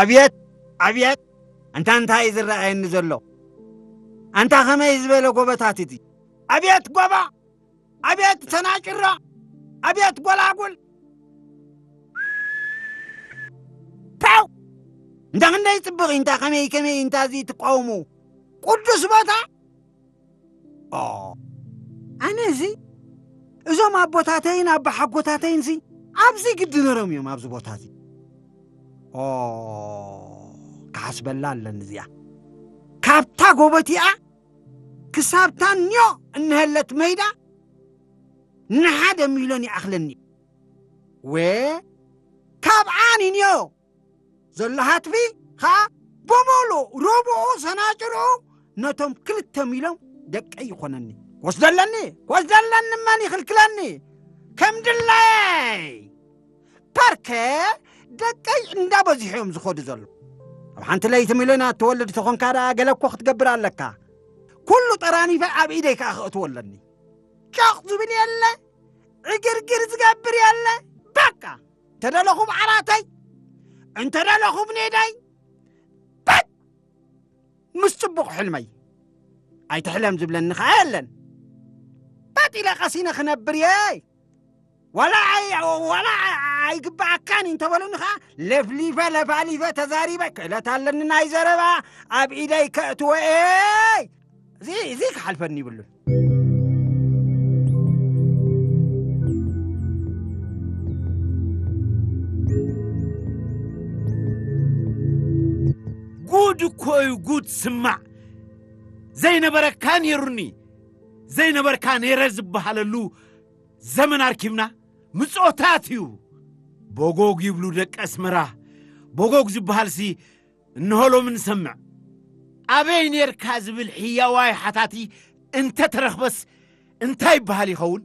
ኣብየት፣ ኣብየት! ኣንታ እንታይ እዩ ዝረኣየኒ ዘሎ? ኣንታ ከመይ ዝበለ ጎበታት እዚ! ኣብየት ጎባ! ኣብየት ተናጭራ! ኣብየት ጎላጉል! ፓው! እንዳ ክንደይ ጽብቕ እዩ፣ እንታ ከመይ ከመይ እንታ እዚ ትቃወሙ? ቅዱስ ቦታ! ኦ፣ ኣነ እዚ እዞም ኣቦታተይን ኣባሓጎታተይን እዚ ኣብዚ ግዲ ነሮም እዮም ኣብዚ ቦታ እዚ። ኦ፣ ክሓስበላ ኣለኒ እዚኣ። ካብታ ጎቦ እቲኣ ክሳብታ ኒዮ እንሀለት መይዳ ንሓደ ሚልዮን ይኣኽለኒ። ወ፣ ካብኣ ንኒዮ ዘሎ ሃትፊ ኸኣ ብምሉእ ሩብኡ ሰናጭርኡ ነቶም ክልተ ሚልዮን ደቀይ ይኾነኒ። ክወስደለኒ፣ ክወስደለኒ መን ይኽልክለኒ? ከም ድላየይ። ፓርከ ደቀይ እንዳበዝሑ እዮም ዝኸዱ ዘሎ። ኣብ ሓንቲ ለይቲ ሚልዮን ኣትወልድ ተኾንካ ደኣ ገለ እኮ ክትገብር ኣለካ። ኩሉ ጠራኒፈ ኣብ ኢደይ ከኣ ከእትዎ ኣለኒ። ጨቕ ዝብል የለ፣ ዕግርግር ዝገብር የለ። በቃ፣ እንተደለኹ ብዓራተይ፣ እንተደለኹ ብኔደይ፣ በጥ! ምስ ጽቡቕ ሕልመይ። ኣይትሕለም ዝብለኒ ኸኣ የለን። በጥ ኢለ ቀሲነ ክነብር እየ። ዋላ ኣይ-፣ ዋላ ኣይግብኣካን እዩ እንተበሉኒ ኸኣ፣ ለፍሊፈ፣ ለፋሊፈ፣ ተዛሪበ፣ ክእለት ኣለኒ ናይ ዘረባ፣ ኣብ ኢደይ ከእትዎ እየ። እዚ፣ እዚ ክሓልፈኒ ይብሉን። ጉድ እኮ እዩ ጉድ። ስማዕ፣ ዘይነበረካ ነይሩኒ፣ ዘይነበርካ ነይረ ዝበሃለሉ ዘመን ኣርኪብና። ምጾታት እዩ። ቦጎግ ይብሉ ደቂ ኣስመራ። ቦጎግ ዝበሃልሲ እንሆ ሎሚ ንሰምዕ። ኣበይ ኔርካ ዝብል ሕያዋይ ሓታቲ እንተ ተረኽበስ እንታይ ይበሃል ይኸውን?